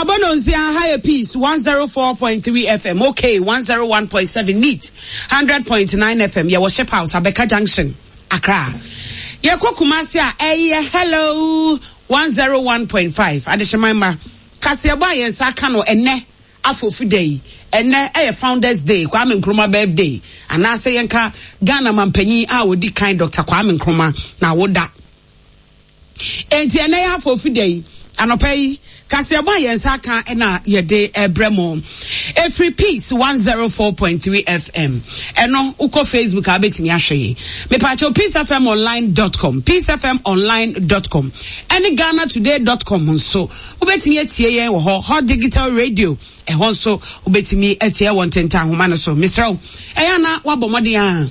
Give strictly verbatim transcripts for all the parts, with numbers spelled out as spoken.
Abɔ no nsia ha yɛ Peace one zero four point three F M, okay, one zero one point seven, Neat hundred point nine F M. Yɛwɔ Ship House, Abɛka Junction, Accra. Yɛkɔ Kumasi a, ɛyɛ Hello one zero one point five. Adehyeman ma kaseɛbɔ a yɛn nsa aka no ɛnɛ afofu da yi, ɛnɛ ɛyɛ Founders Day, Kwame Nkrumah birthday, anaasɛ yɛnka Ghana mampanyin a odi kan, Doctor Kwame Nkrumah, na awoda. Enti ɛnɛ yɛ afofu da yi anɔpa yi, kaseɛbɔ a yɛn nsa aka ɛna yɛde ɛbrɛ mo efiri Peace one zero four point three F M. Ɛno wokɔ Facebook a, wobɛtumi ahwɛ yi. Mepatwo peace F M online dot com, peace F M online dot com ɛne Ghana Today dot com nso wobɛtumi atie yɛn wɔ hɔ. Hot Digital Radio, ɛhɔ nso wobɛtumi atie wɔ ntentan ahoma no so. Mesrɛ wo, ɛyɛ ana wabɔ mmɔden a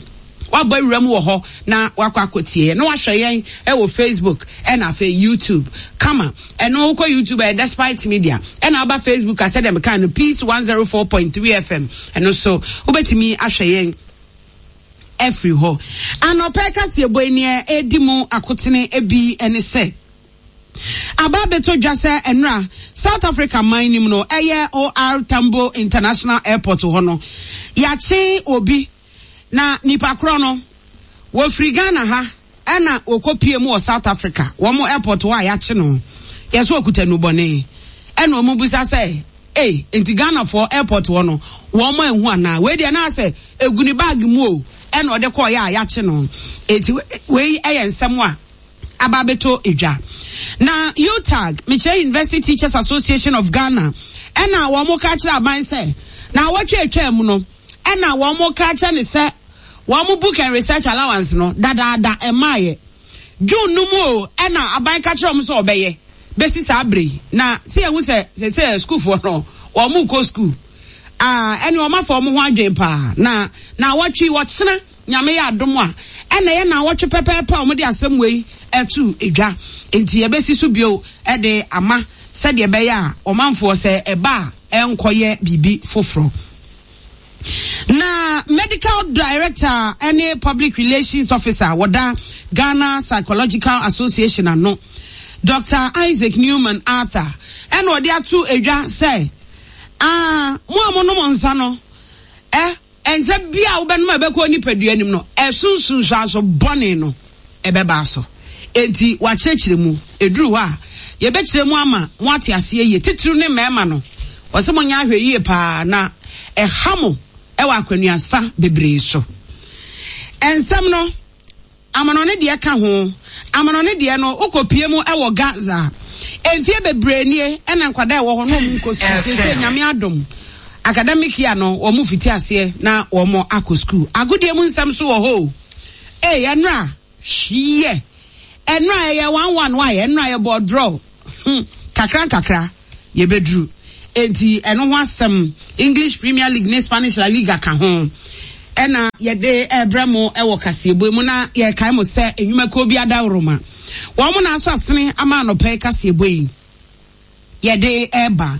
wabɔ awura mu wɔ hɔ na wakɔ akɔtie yɛn na wahwɛ yɛn ɛwɔ Facebook ɛna afei YouTube kama. Ɛno wokɔ YouTube, ɛyɛ Despite Media, ɛna aba Facebook asɛ dɛm kan no, Peace one zero four point three F M. Ɛno so wobɛtumi ahwɛ yɛn ɛfiri hɔ. Anɔpɛ kaseɛbɔ yi, neɛ ɛdi mu akotene bi ɛne sɛ aba abɛtɔ dwa sɛ ɛnora South Africa man nim no, ɛyɛ O R Tambo International Airport hɔ no, yɛakye obi na nipa korɔ no wɔfiri Ghana ha ɛna wɔkɔ pie mu wɔ South Africa wɔn airport hɔ a yɛakye no. Yɛsɛ ɔkuta nubɔne, ɛna wɔn bisa sɛ, ee, nti Ghanafoɔ airport hɔ no wɔn mo ehu anaa? Wei deɛ naa sɛ egu ne bag mu o, ɛna ɔde kɔɔ yɛ a yɛakye no. Eti wei ɛyɛ nsɛm a aba abɛtɔ edwa. Na UTAG, mekyerɛ University Teachers Association of Ghana, ɛna wɔn ka kyerɛ aban sɛ na awɔtwe atwa mu no, ɛna wɔn ka kyerɛ ne sɛ wɔn book and research allowance no dadaada ɛmaayɛ June no mu o, ɛna aban ka kyerɛ wɔn sɛ ɔbɛyɛ bɛsi saa abere yi. Na sɛ yɛn ho sɛ sɛ sɛ sukuufoɔ no wɔn kɔ sukuu aa, ɛne wɔn afa wɔn ho adwene paa. na na awɔtwe wɔkyena, Nyame yɛ adom a, ɛna ɛyɛ na awɔtwe pɛpɛɛpɛ a wɔde asɛm wei ɛto edwa. Nti yɛbɛsi so bio ɛde ama sɛdeɛ ɛbɛyɛ a ɔmanfoɔ sɛ ɛba a, ɛnkɔyɛ biribi foforɔ. Na medical director ɛne public relations officer wɔda Ghana Psychological Association ano, Doctor Isaac Newman Arthur, ɛna ɔde ato edwa sɛ aa, mo a monom nsa no, ɛ nsa bi a wobɛnom a ɛbɛkɔ nipadua anim no, ɛso nsunsuanso bɔne no ɛbɛba so. Enti wakyerɛkyerɛ mu, eduru hɔ a yɛbɛkyerɛ mu ama mo ate aseɛ yie. Titiriw ne mmarima no, wɔsɛ mo nyɛ ahwɛ yie paa na ɛha mo ɛwɔ akwanuasa bebree so. Nsɛm no, amanɔne deɛ ka ho. Amanɔne deɛ no, wokɔpie mu ɛwɔ Gaza, mfie bebree nie ɛna nkwadaa ɛwɔ hɔ na ɔmo nkɔ sukuu. Sɛ Nyame adom, academic year no wɔn fiti aseɛ na wɔn akɔ sukuu. Agodie mu nsɛm so wɔ hɔ o. Ee, ɛnora hwiɛ, ɛnora ɛyɛ one one wa yɛ, ɛnora yɛ bɔ draw hmm kakra nkakra yɛbɛduru. Eti ɛno ho asɛm, English Premier League ne Spanish La Liga ka ho, ɛna yɛde ɛbrɛ mo ɛwɔ kaseɛbɔ mu. Na yɛkae mo sɛ enwumakuo bi adaworoma wɔn mo na aso asene ama anɔpɛ kaseɛbɔ yi yɛde ɛba.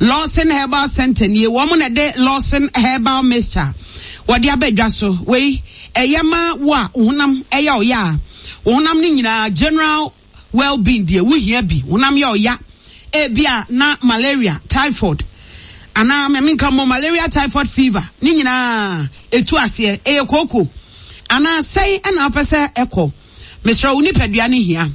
Lawson Herbal Center nie, wɔn na ɛde Lawson Herbal Mixture wɔde aba dwa so. Wei ɛyɛ ma wo a honam ɛyɛ ɔyɛ a, honam no nyinaa, general well-being deɛ wohia bi. Honam yɛ ɔya, ebi a na malaria, typhoid, anaa mɛmi nka mo malaria, typhoid, fever ne nyinaa etu aseɛ. Ɛyɛ kooko anaa sɛn ɛna apɛ sɛ ɛkɔ? Mesrɛ wo, nipadua no hia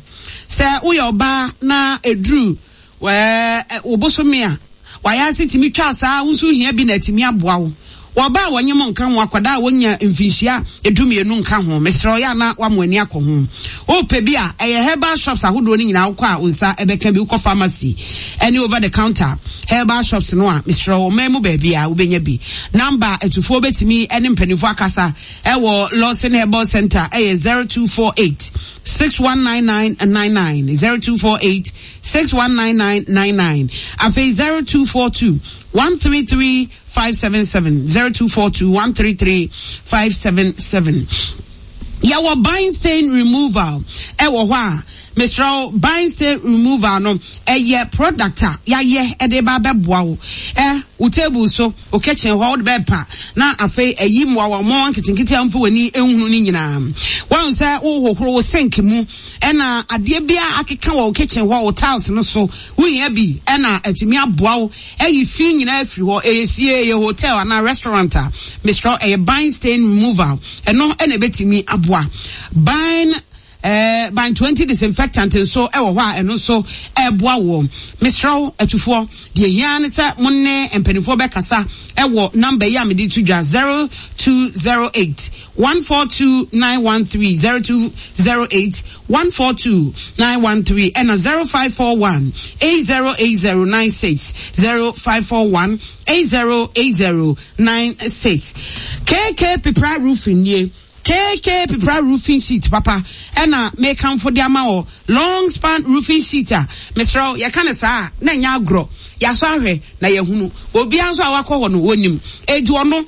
sɛ woyɛ ɔbaa na eduru wɛɛ wo bosome a wayɛ ase tumi twa saa, wo nso hia bi na atumi aboa wo. Wɔba a wɔnyem nka ho, akwadaa a wɔnya mfinhyia edumienu nka ho. Mesrɛ, ɔyɛ ana wamo ani akɔ ho. Wopɛ bi a, ɛyɛ herbal shops ahodoɔ no nyinaa wokɔ a wo nsa ɛbɛka bi. Wokɔ pharmacy ɛne over the counter herbal shops no a, mesrɛ, ɔman mu baabi a wobɛnya bi. Number atufoɔ bɛtumi ɛne mpanimfoɔ akasa ɛwɔ Lawson Herbal Center ɛyɛ zero two four eight six one nine nine nine nine, zero two four eight six one nine nine nine nine, afei zero two four two one three three five seven seven, zero two four two one three three five seven seven. Yɛwɔ bind stain removal ɛwɔ hɔ a, mesrɛ wo, bind stain removal no ɛyɛ product a yɛayɛ ɛde ba abɛboa wo. Ɛ Wo table so, wo kitchen hɔ, wode bɛpa na afei ayi mmoawa mmoawa nketenkete a womfa w'ani nhunu no nyinaa. Woahu sɛ wohohoro wo sink mu ɛna adeɛ biara akeka wɔ wo kitchen hɔ, wo tiles no so, wohia bi ɛna atumi aboa wo ayi fi nyinaa afiri hɔ. Ɛyɛ fie, ɛyɛ hotel anaa restaurant a, mesrɛ wo, ɛyɛ Bind stain removal. Ɛno ɛna ɛbɛtumi aboa. Bind Eh, Ban twenty disinfectant nso wɔ hɔ a ɛno nso ɛreboa woɔ. Mesrɛ wo atufoɔ, deɛ hia ne sɛ mo ne mpanimfoɔ bɛkasa wɔ namba yi a mede to dwa zero two zero eight one four two nine one three zero two zero eight one four two nine one three ɛna zero five four one eight zero eight zero nine six zero five four one eight zero eight zero nine six. K K Pepra Roofing nie. K K Pepra roofing sheet papa ɛna mekamfo de ama wɔ long span roofing sheet a mesrɛ wo yɛka no saa a na ɛnyɛ agorɔ yɛasɔ ahwɛ na yɛahunu obiara nso a wakɔ hɔ no wɔnim enti ɔno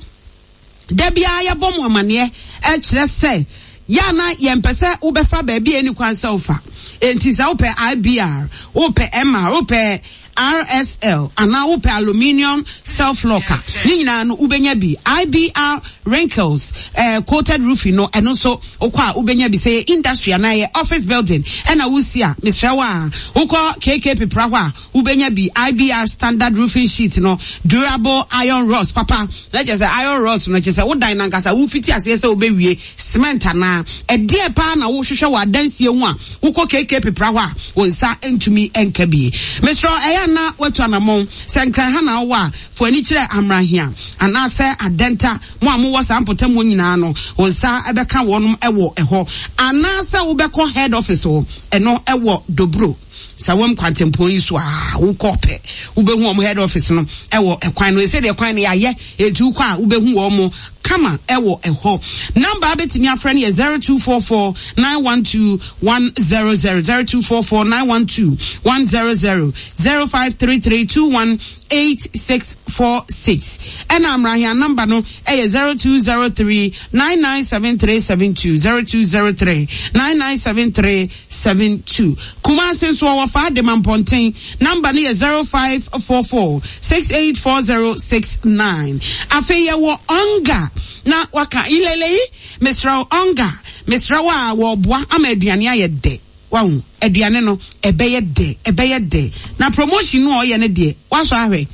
da biara yɛbɔ mo amaneɛ ɛkyerɛ sɛ yɛ a na yɛmpɛ sɛ wobɛfa baabi a ɛni kwan sɛ wofa enti sɛ wopɛ I B R wopɛ M R wopɛ R S L anaa wopɛ aluminium self lock a, ne nyinaa no wobɛnya bi. I B R wrinkles eh, coated roofing no, ɛno nso wokɔ a wobɛnya bi. Sɛ yɛ industry anaa yɛ office building ɛna wosi a, mesrɛ wo a, wokɔ K K Pepra hɔ a, wobɛnya bi. I B R standard roofing sheet no, durable iron rods papa. Na kyerɛ sɛ iron rods no, kyerɛ sɛ wodan no ankasa, wofiti aseɛ sɛ wobɛwie cement anaa ɛdeɛ paa na wohwehwɛ wɔ adansie ho a, wokɔ K K Pepra hɔ a, wo nsa ntumi nka bi. Mesrɛ wo, ɛyɛ a na woatu anammɔn. Sɛ Nkran ha na wowɔ a, fa w'ani kyerɛ Amrahia anaasɛ Adenta. Mo a mowɔ saa mpɔtam hɔ nyinaa no, wo nsa bɛka wɔnom wɔ ɛhɔ. Anaasɛ wobɛkɔ head office hɔ, ɛno wɔ Dobro. Sawam kwantempɔn yi so a, wokɔ pɛ, wobɛhu wɔn head office no wɔ ɛkwan no. Ɛsɛ deɛ kwan no yɛayɛ, enti wokɔ a wobɛhu wɔn kama ɛwɔ ɛhɔ. Number a bɛtumi afrɛ no yɛ zero two four four nine one two one zero zero, zero two four four nine one two one zero zero, zero five three three two one eight six four six. Ɛna Amrahia number no ɛyɛ zero two zero three nine nine seven three seven two, zero two zero three nine nine seven three seven two. Kumasi nso ɔwɔ fa de ma mpɔnten. Number no yɛ zero five four four six eight four zero six nine. Afei yɛwɔ Onga na waka ilele yi, mesrɛ wo Onga, mesrɛ wo a wɔboa ama aduane ayɛ dɛ. Wahu aduane no ɛbɛyɛ dɛ, ɛbɛyɛ dɛ. Na promotion no a ɔyɛ no deɛ wasɔ ahwɛ.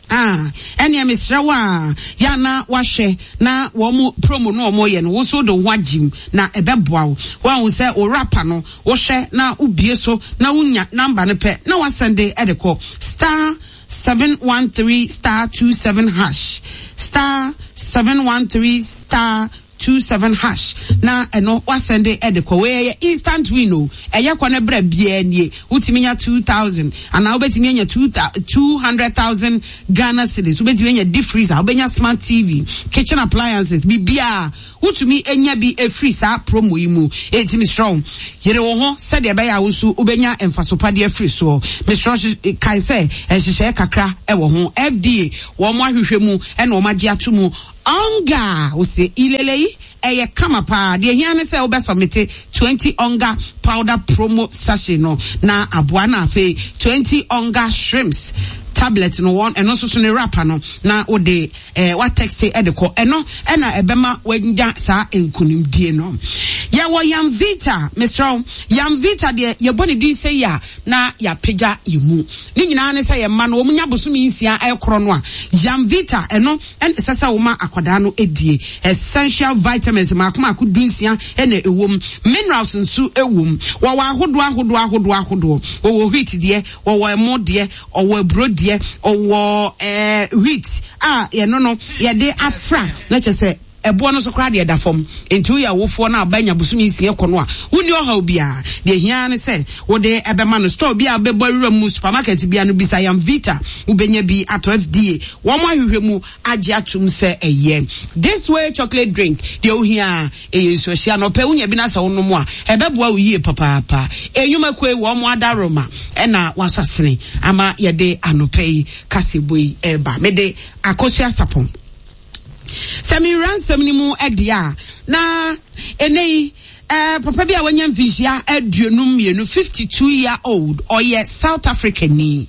Ah, ɛnea mesrɛ wo a ya na wahwɛ na wɔn mo promo no wɔn yɛ no wo so de wo ho agyim na ɛbɛboa wo. Wahu sɛ wo wrapper no wohwɛ na wobie so na wonya number no pɛ na wasɛnde ɛde kɔ star seven one three star two seven hash, star seven one three star two seven hash na ɛno wasɛnde ɛde kɔ. Wei ɛyɛ instant win o, ɛyɛ kɔ ne brɛ biara nie. Wotumi nya two thousand anaa wobɛtumi anya two thou-, two hundred thousand Ghana cedis. Wobɛtumi anya deep freezer, wobɛnya smart T V, kitchen appliances, biribiara wotumi anya bi efiri saa promo yi mu. Enti mesrɛ wo, yere wo ho sɛdeɛ ɛbɛyɛ a wo nso wobɛnya mfasopadeɛ afiri soɔ. Mesrɛ wo, kae sɛ nhyehyɛeɛ kakra ɛwɔ ho. F D A wɔn ahwehwɛ mu ɛna wɔn agye ato mu. Onga, ose ilele yi ɛyɛ kama paa. Deɛ hia ne sɛ wobɛsɔmete twenty Onga powder promo sachet no na aboa, na afei twenty Onga shrimps tablet no wɔn ɛno nso so ne wrapper no na wode, eh, watexte ɛde kɔ. Ɛno ɛna ɛbɛma wanya saa nkunimdie no. Yɛwɔ Yamvita, mesrɛ wo, Yamvita deɛ yɛbɔ ne din sɛ yi a na yɛapagya yɛ mu. Ne nyinaa ne sɛ yɛmma no wɔn nya bosome nsia ɛkorɔ no a, Yamvita ɛno ɛna ɛsɛ sɛ woma akwadaa no edie. Essential vitamins mako mako du nsia ɛna ɛwɔ mu. Minerals nso ɛwɔ mu. Wɔwɔ ahodoɔ ahodoɔ ahodoɔ ahodoɔ. Wɔwɔ wheat deɛ, wɔwɔ ɛmo deɛ, ɔwɔ aburo deɛ, ɔwɔ, eh, wheat a yɛno no yɛde afra na kyerɛ sɛ ɛboɔ no so koraa deɛ ɛda fam. Nti woyɛ awofoɔ no a ɔba nya bosome nsia kɔ no a, wonni ɔhaw biara. Deɛ hia ne sɛ wode ɛbɛma no. Store bi a wobɛbɔ awura mu, supermarket bi a no bisa Yamvita, wobɛnya bi atɔ. F D A wɔn ahwehwɛ mu agye atom sɛ ɛyɛ. This Way chocolate drink deɛ wohia ɛyɛ nsuohyia na ɔpɛ wonya bi na sɛ wonom a ɛbɛboa wo yie papaapa. Enyuma kue wɔn adaroma ɛna wasɔ asene ama yɛde anɔpɛ yi kasebo yi ɛreba. Mede Akosua Sapon. Sɛ mewura nsɛm no mu ɛdeɛ a, na ɛnɛ yi, eh, papa bi a wanya mfinhyia aduonum mmienu, fifty-two year old, ɔyɛ South African ni.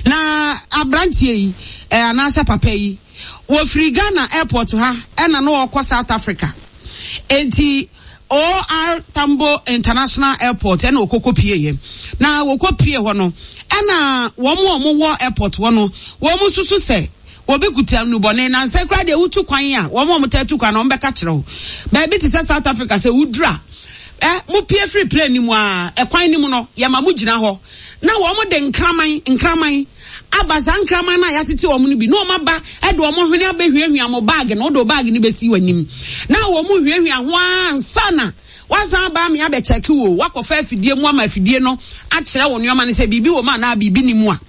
Na Aberanteɛ yi eh, anaasɛ papa yi, wɔfiri Ghana airport ha ɛna na ɔrekɔ South Africa. Enti O R Tambo International Airport ɛna ɔkɔkɔ pieeɛ. Na wɔkɔ pie hɔ no, ɛna wɔn a wɔwɔ airport hɔ no, wɔn susu sɛ obi kuta nnubɔne. Na nsɛ koraa deɛ, wotu kwan a, wɔn a wɔtaa tu kwan no, wɔn bɛka kyerɛ wo. Baabi te sɛ South Africa, sɛ woduru a, ɛ mo pie firi plane no mu a, ɛkwan no mu no, yɛma mo gyina hɔ na wɔn de nkraman nkraman aba. Saa nkraman no a yɛatete wɔn no bi na wɔn aba ɛde wɔn hwene abɛhwiahwia mo bag no. Wode bag no bɛsi w'anim na wɔn hwiahwia ho ansa na wasan aba ame abɛkyɛke wo. Wakɔfa afidie mu ama afidie no akyerɛ wo nneɛma no sɛ biribi wɔ mu anaa biribi ni mu a.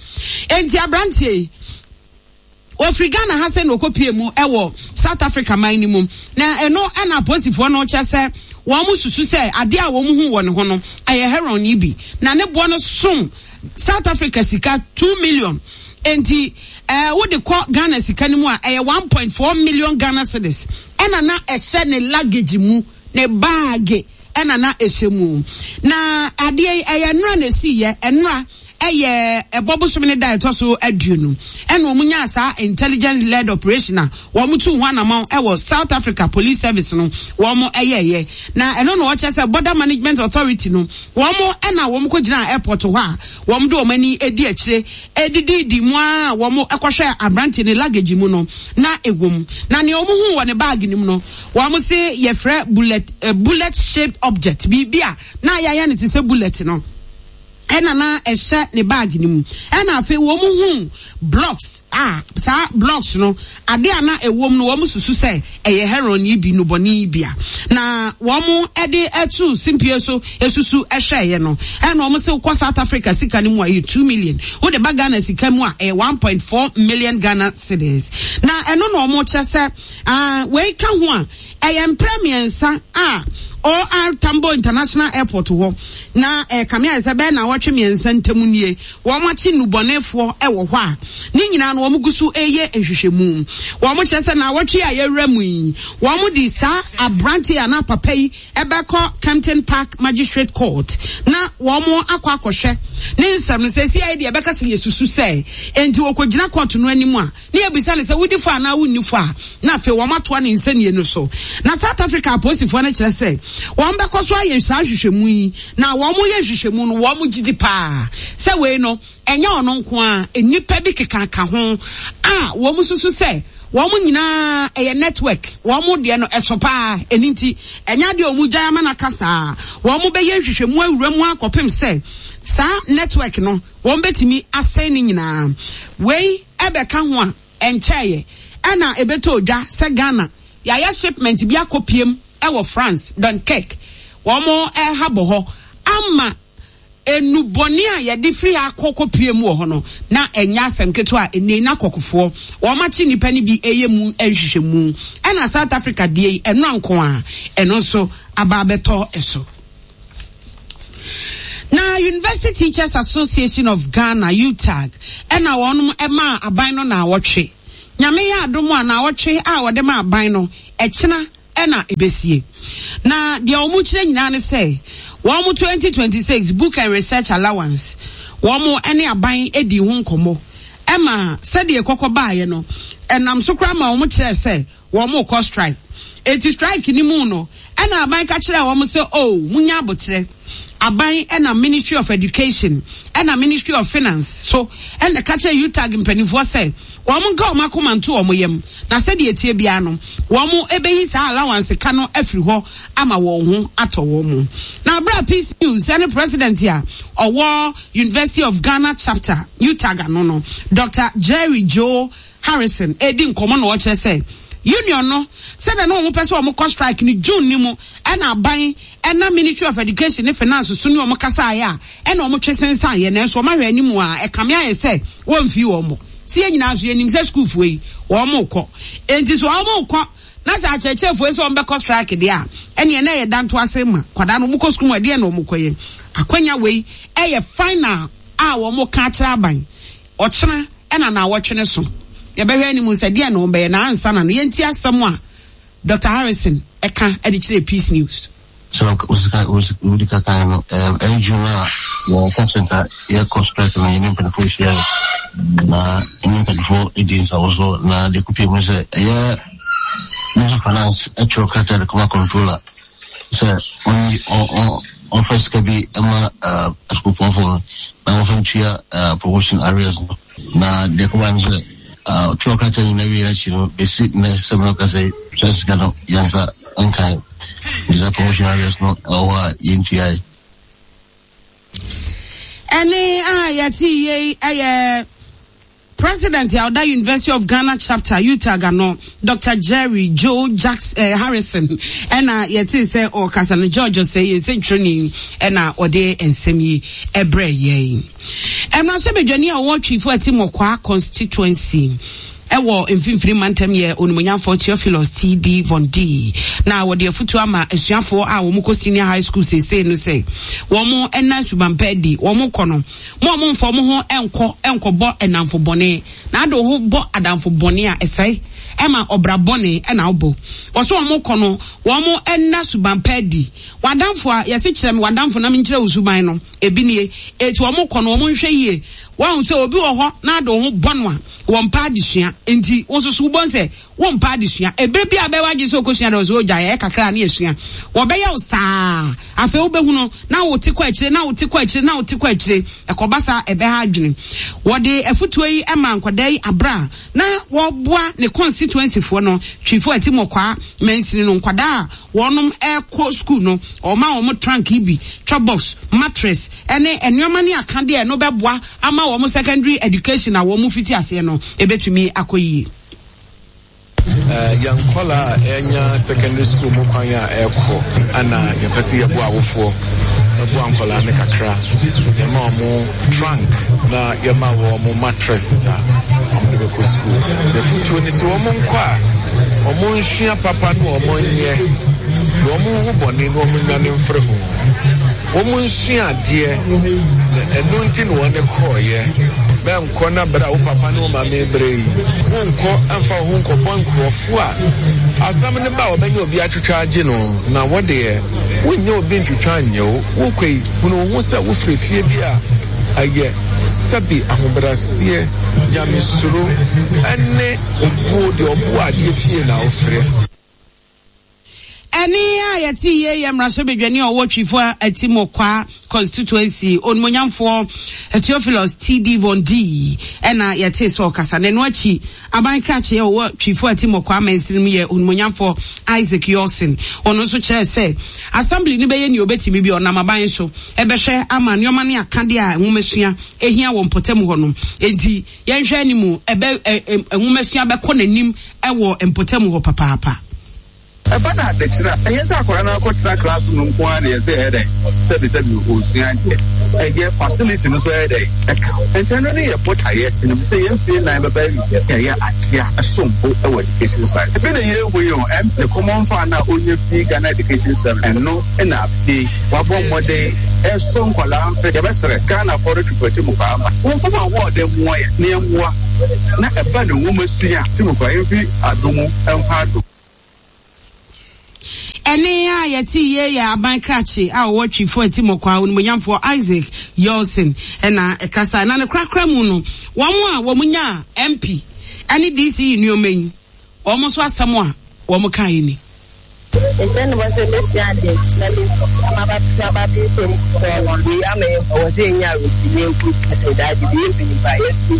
Enti aberanteɛ yi ofiri Ghana ha sɛ na ɔkɔpie mu ɛwɔ South Africa man no mu, na ɛno ɛna apolisifoɔ no kyerɛ sɛ wɔn mo susu sɛ adeɛ a wɔn hu wɔ ne ho no ɛyɛ heroin yi bi, na ne boɔ no som South Africa sika two million. Enti ɛɛ wode kɔ Ghana sika no mu a, ɛyɛ one point four million Ghana cedis. Ɛna na ɛhyɛ ne luggage mu, ne bag ɛna na ɛhyɛ mu. Na adeɛ yi ɛyɛ nnora na esi yɛ nnora, ɛyɛ ɛbɔ bosom ne da ɛtɔ so aduonu, ɛna wɔn nyaa saa intelligence led operation a wɔn tu ho anamɔ ɛwɔ South Africa Police Service no wɔn ɛyɛɛyɛ. Na ɛno na wɔkyerɛ sɛ Border Management Authority no, wɔn ɛna wɔn kɔ gyina airport hɔ a wɔn de wɔn ani edi akyire edididi mu a wɔn ɛkɔhwɛ aberante ne luggage mu no na ewɔ mu. Na nea wɔn hu wɔ ne bag no mu no, wɔn se yɛfrɛ bullet uh, bullet shaped object, biribi a na yɛayɛ no te sɛ bullet no ɛna na ɛhyɛ ne bag no mu. Ɛna afei wɔn hu blocks a saa blocks no, ade a na ɛwɔ mu no, wɔn susu sɛ ɛyɛ heroin yi bi, nubɔne yi bi a na wɔn ɛde ɛto simpie so esusu ɛhwɛɛyɛ no. Ɛna wɔn sɛ kɔ South Africa sika no mu a, ɛyɛ two million. Wode ba Ghana sika mu a, ɛyɛ one point four million Ghana cedis. Na ɛno na wɔn kyerɛ sɛ aa wei ka ho a, ɛyɛ mprɛ mmiɛnsa a O R Tambo International Airport hɔ na ɛkame ayɛ sɛ bɛyɛ na wɔtwe mmiɛnsa ntam nie wɔn akyi nnubɔnefoɔ ɛwɔ hɔ a ne nyinaa no wɔn gu so ɛyɛ nhwehwɛmu. Wɔn kyerɛ sɛ na wɔtwe a yɛwura mu yi, wɔn de saa aberante a na papa yi ɛbɛkɔ Kempton Park Magistrate Court na wɔn akɔ akɔhwɛ ne nsɛm no. Sɛ esi ayɛ deɛ ɛbɛka sɛ yɛsusu sɛ nti wɔkɔgyina court no anim a, ne yɛbisa ne sɛ wodi fɔ anaa wonni fɔ a, na afei wɔn atoa ne nsɛnniɛ no so. Na South Africa apolisifoɔ no kyerɛ sɛ wɔn bɛkɔ so ayɛ saa nhwehwɛmu yi, na wɔn yɛ nhwehwɛmu no, wɔn gyi di paa sɛ wei no ɛnyɛ ɔno nko a, nnipa bi kekaka ho a wɔn susu sɛ wɔn nyinaa ɛyɛ network. Wɔn deɛ no ɛso paa. Ɛni nti ɛnyɛ adeɛ a wɔn gya ama n'aka saa. Wɔn bɛyɛ nhwehwɛmu awura mu akɔpem sɛ saa network no wɔn bɛtumi asɛn ne nyinaa. Wei ɛbɛka ho a, ɛnkyɛɛyɛ ɛna ɛbɛtɔ odwa sɛ Ghana yɛayɛ shipment bi akɔ piem ɛwɔ France, Dunkirk, wɔn ɛha bɔ hɔ ama enubɔne a yɛde firi akɔ pie mu wɔ hɔ no. Na ɛnyɛ asɛm ketewa a ɛnɛ na kɔkofoɔ wɔn akyi nipa no bi ɛyɛ mu nhwehwɛmu. Ɛna South Africa deɛ yi, ɛno anko a ɛno nso aba abɛtɔ ɛso. Na University Teachers Association of Ghana, U T A G, ɛna wɔn ɛma aban no na awɔtwe. Nyame yɛ adom a, na awɔtwe a wɔde ma aban no, ɛkyena ɛna ebesie. Na deɛ wɔn kyerɛ nyinaa ne sɛ wɔn twenty twenty-six book and research allowance, wɔn ɛne aban edi ho nkɔmɔ ɛma sɛdeɛ kɔkɔ baayɛ no, ɛnam so koraa ma wɔn kyerɛ sɛ wɔn kɔ strike. Eti strike ni mu no, ɛna aban ka kyerɛ wɔn sɛ, "O, munya abokyerɛ." Aban ɛna Ministry of Education ɛna Ministry of Finance so ɛna ka kyerɛ U T A G mpanimfoɔ sɛ wɔn nka wɔn akoma nto wɔn yam, na sɛdeɛ etie biara no, wɔn ɛbɛyi saa allowance ka no afiri hɔ ama wɔn ho atɔ wɔn mu. Na abira Peace News ɛne president a ɔwɔ University of Ghana chapter U T A G ano no, Doctor Jerry Joe Harrison, edi nkɔmɔ na ɔkyerɛ sɛ union no, sɛdeɛ na wɔn pɛ sɛ wɔn kɔ strike no June ni mu, ɛna aban ɛna Ministry of Education ne Finance so ne wɔn kasa ayɛ a, ɛna wɔn twe sensan yɛ. Nanso wɔn ahwɛ anim a, ɛkame ayɛ sɛ wɔn fi wɔn mo si yɛn nyinaa nso yɛnim sɛ sukuufoɔ yi wɔn kɔ. Enti so wɔn kɔ na sɛ akyerɛkyerɛfoɔ yi sɛ wɔn bɛkɔ strike deɛ a, ɛneɛ na ɛyɛ danto ase ma kwadaa no wɔn kɔ sukuu mu. Ɛdeɛ na wɔn kɔ yɛ akwanya wei ɛyɛ final a wɔn ka akyerɛ aban. Ɔkyena ɛna na awɔtwe ne so, yɛbɛhwɛ anim sɛ deɛ na wɔn bɛyɛ. Na ansa na no, yɛnti asɛm a Doctor Harrison ɛka ɛde kyerɛ Peace News. So wodi kakan no, ɛyɛ June a yɛka sɛ nka yɛkɔ strike no, yɛne mpanimfoɔ hyia. Na ɛne mpanimfoɔ di nsawo so na deɛ kɔpie mu sɛ ɛyɛ Ministry of Finance ɛtwerɛ krataa de kɔma controller sɛ ɔnyi ɔmfa sika bi ma asukuupɔnfoɔ no na wɔmfa ntua promotion arrears no. Na deɛ kɔba no sɛ ɔtwerɛ krataa nyinaa wie n'akyi no, bɛsi nnɛ sɛ mɛka sɛ saa sika no yɛnsa nkan, nti sɛ promotion arrears no ɛwɔ hɔ a yɛntuae. Ɛne a yɛte yei ɛyɛ President a ɔda University of Ghana Chapter, UTAG ano, Doctor Jerry Joe Jackson, eh, Harrison, ɛna yɛte sɛ ɔkasa no. George Osei, yɛn nsɛntwerɛni, ɛna ɔde nsɛm yi ɛbrɛ yɛn. Mmarahyɛbadwani a ɔwɔ Twifo Atimmɔkwaa constituency ɛwɔ Mfimfini Mantam yɛ Onimonyamfoɔ Theophilus T D. Von D, na wɔde afutuo ama asuafoɔ a wɔn kɔ senior high school seesei no sɛ wɔn ɛna subanpa adi. Wɔn kɔ no, mo a wɔmfa wɔn ho nkɔ nkɔbɔ ɛnamfo bɔne, na ade ho bɔ adamfo bɔne a ɛsɛe ɛma ɔbra bɔne ɛna ɔbɔ wɔso. Wɔn kɔ no, wɔn ɛna subanpa adi. Wadanfo a yɛsi kyerɛ me wadanfo na menkyerɛ wo suban no ebi nie. Eti wɔn kɔ no, wɔn nhwɛ yie. Wɔn sɛ obi wɔ hɔ na ade ho bɔ no a wɔn mpa adesua, nti wɔn nso so wɔbɔ nsɛ wɔn mpa adesua. Ebere bi a bɛwɔ agye sɛ okosua dɛ ɔsɛ ogya yɛ kakra ne esua, wɔbɛyɛ wo saa. Afei wobɛhu no na wote kɔ akyire, na wote kɔ akyire, na wote kɔ akyire. Ɛkɔba saa, ɛbɛha adwene. Wɔde afutuo yi ma nkwadaa yi abra na wɔboa ne constituency foɔ no, Twifo Atimmɔkwaa mansini no nkwadaa a wɔnom ɛkɔ school no. Ɔma wɔn trunk yi bi, chop box, mattress ɛne nneɛma ne akadeɛ no bɛboa ama wɔn secondary education a wɔn fiti aseɛ no ebɛtumi akɔ yie. Yɛn nkɔla a ɛnya secondary school mu kwan a ɛrekɔ ana yɛpɛ sɛ yɛboa awofoɔ, ɛboa nkɔla no kakra. Yɛma wɔn trunk na yɛma wɔn mattress a wɔn de bɛkɔ school. Yɛfotuo ne sɛ wɔn nkɔ a, wɔn nsua papa no, wɔn nyɛ na wɔn ho bɔne na wɔn nwane mfiri ho. Wɔn nsua adeɛ na ɛno nti na wɔn kɔɔyɛ. Bɛnkɔ na bere a wo papa ne wo maame bere yi, wonkɔ mfa wo ho nkɔbɔ nkurɔfoɔ a asɛm no ba a wɔbɛnyɛ obi atwitwa agye no, na wɔdeɛ wonyɛ obi ntwitwa nyɛ wo. Wokɔ yi, hunu wo ho sɛ wofiri fie bi a ɛyɛ sɛbi ahobrɛaseɛ, nyamesuro ɛne obuo deɛ ɔboa adeɛ fie na wofrɛ. Ɛne a yɛte yie yɛ mmarahyɛbadwani a ɔwɔ Twifo Atimmɔkwaa constituency, Onimonyamfoɔ Theophilus T D. Von D, ɛna yɛte sɛ ɔkasa. Na ɛno akyi, aban krakye a ɔwɔ Twifo Atimmɔkwaa mansini mu yɛ Onimonyamfoɔ Isaac Yawson. Ɔno nso kyerɛ sɛ assembly no bɛyɛ nea obɛtumi bi, ɔnam aban so ɛbɛhwɛ ama nneɛma ne akadeɛ a nwomasua ehia wɔ mpɔtam hɔ no. Enti yɛnhwɛ anim, ɛbɛ nwomasua bɛkɔ n'anim ɛwɔ mpɔtam hɔ papaapa. Ɛba no adekyerɛ a, ɛnyɛ sɛ akwadaa no akɔtena class no nko ara na yɛsɛ ɛyɛ dɛn, sɛbisɛbi, ɔsua adeɛ. Ɛyɛ facility no so ɛyɛ dɛn ɛka. Nti ɛno ne yɛ botaeɛ. Ɛnum sɛ yɛn fie nan bɛba awie, yɛyɛ adeɛ a ɛsom bo ɛwɔ education side. Ebi na yɛhu yi o, ɛm ne common fund a onye fi Ghana Education Service, ɛno ɛna afei wabɔ mmɔden ɛso nkwadaa mfe. Yɛbɛsrɛ Ghana fɔ no twipɔti mu paa ma wɔn fam ahoɔden mmoa yɛ ne mmoa na ɛba ne nwoma sua ti mu kora yɛmfi adomu ɛmfa adom. Ɛne a yɛte yie yɛ aban krakye a ɔwɔ Twifo Atimmɔkwaa, Onimonyamfoɔ Isaac Yawson, ɛna ɛkasa. Na ne korakora mu no, wɔn a wɔn nya M P ɛne D C E nneɛma yi, wɔn nso asɛm a wɔn ka yi ni. Nkyɛn ne bɔ sɛ bɛsua ade na me amaba aba bi nsɛm kɔɔ no wei ama yɛ ɛwɔ sɛ yɛnya awerɛhyɛmu nku sɛ daagye bi yɛ mpanyimpa yɛsu.